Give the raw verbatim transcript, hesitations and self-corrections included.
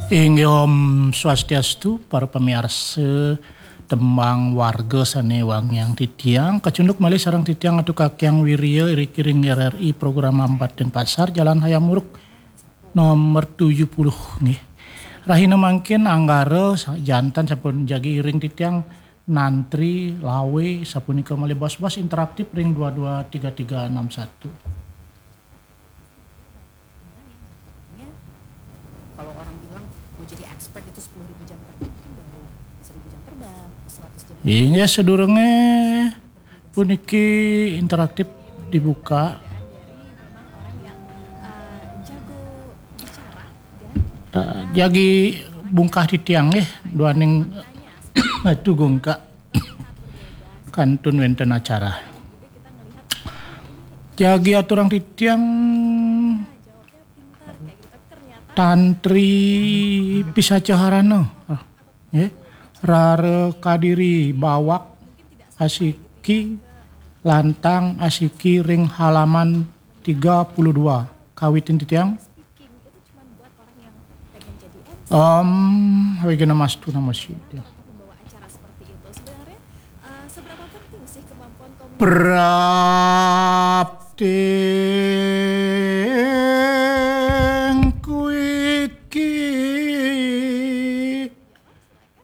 Inggih Om Swastiastu, para pamiarsa tembang warga sané wangiang titiang, kacunduk malih sareng titiang Atu Kakiang Wirya iriki ring R R I Program Ampat Denpasar, Jalan Hayam Wuruk, nomor tujuh puluh, nggih. Rahina mangkin Anggara sa-, janten sampun jagi iring titiang nantri lawé sapunika malih bos-bos interaktif ring dua dua tiga tiga enam satu. Kalau orang bilang mau jadi expert itu sepuluh ribu jam terbang, kan baru seribu jam terbang, seratus jam. Inggih, sadurungé puniki interaktif dibuka. Orang yang eh, jago bicara dan Eh, jagi bungkah titiang nggih, duaning Atu Gungkak kantun wénten acara. Jagi aturang titiang tantri pisacaharana. Ah, nggih. Rara kadiri bawak asiki lantang asiki ring halaman tiga puluh dua. Kawitin titiang. Om Awighnamastu Namo Siddham. Prapti